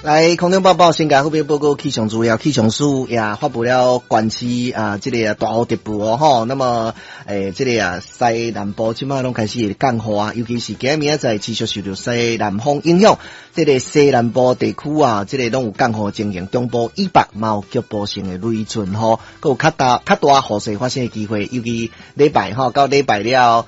來，空中報報，先共好朋友報告氣象資料，氣象署也發布了縣市啊，這个大雨特報哦，吼。那麼，這个啊，西南部這擺攏開始降雨啊，尤其是今明仔載持續受著西南風影響，這个西南部地區啊，這个攏有降雨情形，中部以北嘛有局部性的雷陣雨，閣有較大較大雨勢發生的機會，尤其禮拜吼到禮拜了，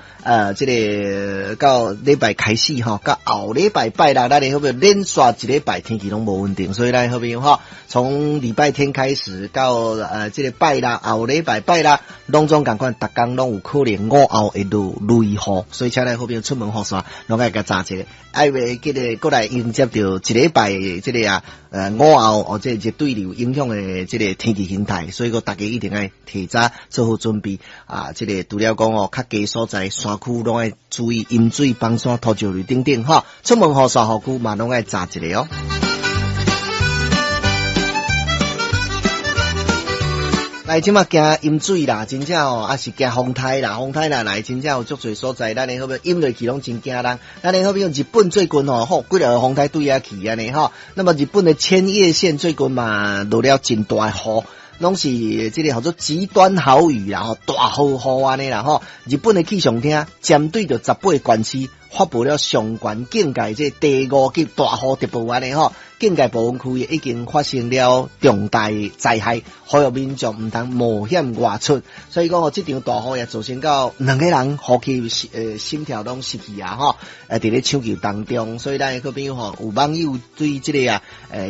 這个到禮拜開始吼，到後禮拜拜六，咱的好朋友連續一禮拜天氣攏無穩定，所以咱好朋友吼，從禮拜天開始到這个拜六後禮拜拜六，攏總仝款，逐工攏有可能午後會落雷雨，所以請咱好朋友出門雨傘，攏愛共紮一下，愛袂記得閣來迎接著一禮拜這个啊，午後或者熱對流影響的這个天氣形態，所以講大家一定愛提早做好準備啊！這个除了講哦，較低所在山區攏愛注意淹水、崩山、土石流等等吼，出門雨傘雨具嘛攏愛紮一下哦。來，這馬驚淹水啦，真正哦，抑是驚風颱啦，風颱若來，真正有足濟所在，咱的好朋友淹落去攏真驚人。咱的好朋友日本最近吼，吼，幾个風颱對遐去按呢吼。那麼日本的千葉縣最近嘛落了真大雨，攏是這个號做極端豪雨啦，吼，大豪雨按呢啦吼。日本的氣象廳針對著18縣市發布了上懸警戒這第五級大雨特報按呢吼。警戒部分區域已經發生了重大災害，呼籲民眾毋通冒險外出。所以講哦，這場大雨也造成到兩個人呼吸心跳攏失去啊！吼，佇咧搶救當中，所以咱的好朋友吼，有網友對這个啊，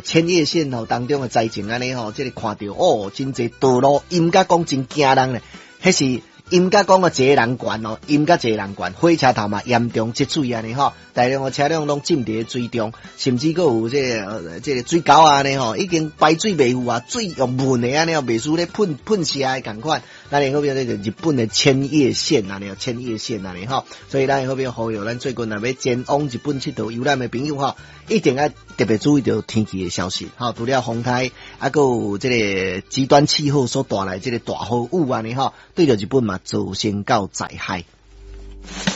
千葉縣吼當中的災情按呢吼，這个看著哦，真濟道路淹甲講真驚人咧，彼是淹甲講個一个人懸哦，淹甲一個人懸，火車頭嘛嚴重積水按呢吼，大量的車輛攏浸佇咧水中，甚至閣有這个水溝按呢吼，已經排水袂赴啊，水用噴的按呢，袂輸咧噴噴射的仝款。咱的好朋友這個日本的千葉縣按呢，千葉縣按呢吼，所以咱的好朋友呼籲咱最近若欲前往日本𨑨迌遊覽的朋友吼，一定愛特別注意著天氣的消息，吼，除了風颱，啊，閣有這个極端氣候所帶來這个大豪雨按呢吼，對著日本嘛造成到災害。